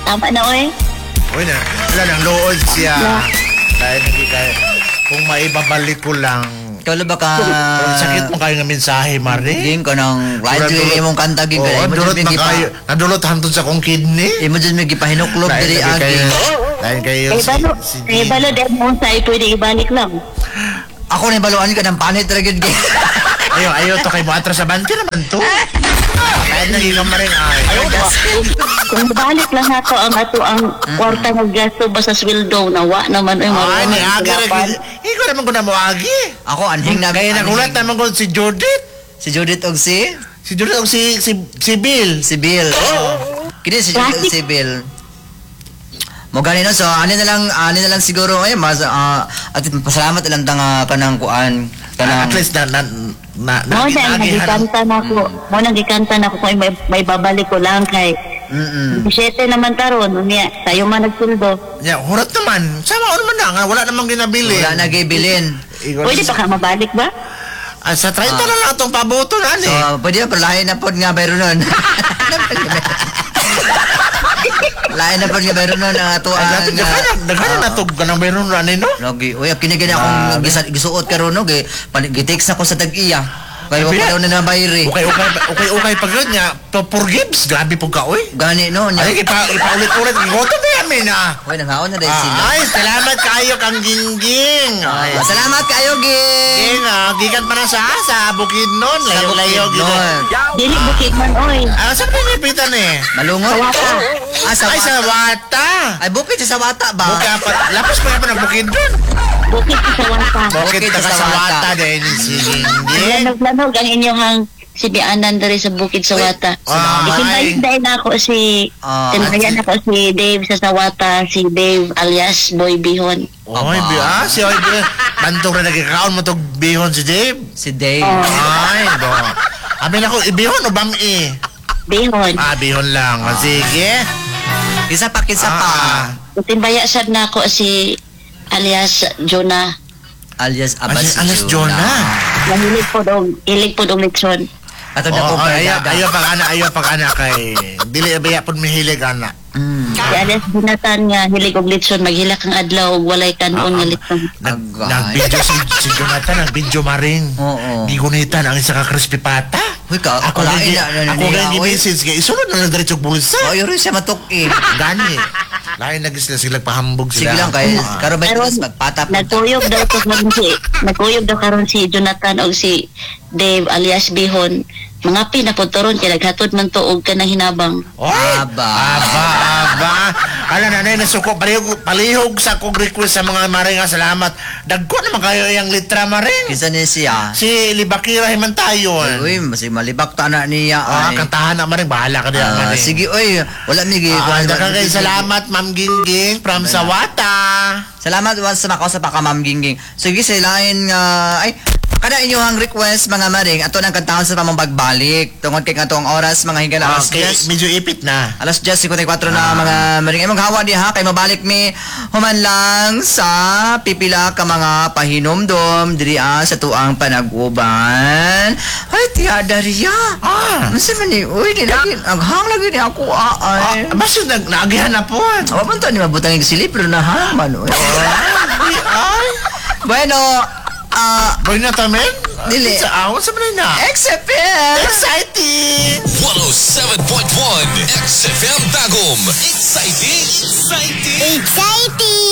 Tama na, oy. Uy na, wala nang luod siya. Dahil nagi kay kung maibabalik ko lang. Ikaw ba ka Pero sakit mo kayo nga mensahe, Mari. Ging ko nang radyo imong kanta ging Oo, kay imo dulot jud man mi gipa. kayo. Nadulot hantod sa kong kidney. Imo jud mi gipahinuklob Dahil diri lagi agi. Dahil kayo Kay si, balo, si kay balo dahil mo sa pwede ibalik lang. Ako ni baluan ka ng panit ra gyud gi. Ayo, ayo to kay mo atras sa bante naman to. Dahil naging ka maring ay. Ayo ba? Kung ibalik lang ako ang ato ang kwarta nga gasto ba sa sweldo na wa naman oy. Ay, ni Agi Marunong ra. Ikaw naman ko na mo agi. Ako anhing na Kaya nagulat naman ko si Judith. Si Judith og si Si Judith og si Bill. si Bill. Kini si Judith og si Bill. Mo gani no, so ani na lang siguro ay mas at pasalamat ilang ta nga kanang kuan kanang At least na na na Mo na ang nagikanta na ako. Mo nang gikanta na ako kung may babalik ko lang kay 17 naman taron unya tayo man nagsuldo. Ya, hurat naman. Sama ano man na nga wala namang ginabili. Wala na gibilin. Ikaw Pwede pa ka mabalik ba? Ah, sa 30 na lang itong pabuto na So ani. pwede na pero lahi na pod nga bayro nun. Lahi na pod nga bayro nun ang ato Ay, ang daghan daghan na to ganang meron na ani no. Lagi, uy, kini gani akong gisuot karon no, gi gitext ako sa tag-iya. Kay wa pa daw na nabayri. Okay, okay, okay, okay pag yun niya, to forgives, grabe po ka, oy. Gani no nya. Ay, ipaulit-ulit, goto na yamin ah. Uy, nanghaon na dahil sila. Ay, salamat kayo kang Gingging. Ay, Ah, salamat kayo, Ging. Ging, gikan pa na sa Bukidnon, layo-layo. Bukidnon. Dili bukid man oy. Ah, saan pinipitan eh? Malungot. Sawata. Ah, sa Ay, sa Wata. Ay, bukid sa Sawata ba? Bukid pa, lapas pa pa ng Bukidnon. Bukid sa Sawata. Bukid Bukid taga sa sa Wata. Wata din si Gingging. Lanog-lanog ang inyong sibianan diri sa Bukid Sawata. Salamat. Itimbayan dahil ako si timbayan ako si Dave sa Sawata, si Dave alias Boy Bihon. Oy, bi ah, si Oy, bi. Bantog na nagkakaon mo tog bihon si Dave. Si Dave. Oh. Ay, bo. Amin ako, ibihon o bami? Bihon. Ah, bihon lang. Sige. Isa pa, kisa pa. Ah, Timbaya sad na ako si alias Jonah. Alias Ah, Abbas alias Jonah. Nahilig po dong, hilig po dong lechon. Ato na Oh, ko ay, ayaw, ayaw pag ana, ayaw pag ana kay dili baya pud mihilig ana. Si alias Jonathan nga hilig og lechon, maghilak ang adlaw og walay kanon nga lechon. Agay. Nag-video si Jonathan, nag-video maring. Oo. Gigunitan ang isa ka crispy pata. Uy, ka, Ako kalain gigi, na, na, ako niya, gigi uy. message kay isulod na lang diretso bulsa. Oh, yun siya matuk eh. Gani. Lain na sila sila pahambog sila. Sige lang kay karon ba Karon, magpatap. Nagkuyog daw karon si Jonathan og si Dave alias Bihon. Mga pinapod toron kay naghatod man to og kanang hinabang. Oy! Aba. Aba, aba. Ala nanay nasuko palihog, palihog sa kong request sa mga maring nga salamat. Dagko naman kayo iyang litra maring. Kinsa ni siya? Si Libakira Himantayon. Uy, masig malibak ta na niya Ah, ay. kantahan na maring bahala ka diya Ah, maring. sige oy, wala mi gi Ah, daghang kay salamat Ma'am Gingging from Sawata. Salamat wa sa makausap pa ka Ma'am Gingging. Sige sa lain nga ay kada inyong request mga maring ato nang kantahon sa pamang pagbalik tungod kay katong oras mga higala alas Okay, 10. medyo ipit na. Alas 10:54 na mga maring. Imong hawa diha kay mabalik mi human lang sa pipila ka mga pahinomdom diri sa tuang panag-uban. Ay tiada riya. Ah. Unsa man ni? Uy, di lagi aghang lagi ni ako ah, ay. Ah, basta naagihan na po. Awa man to ni mabutang yung silip pero nahang man. Uy. Ay, ay. Bueno, Boy na tamen? Dili. Sa awon sa manay na. XFM! Exciting! 107.1 XFM Tagum. Exciting! Exciting! Exciting!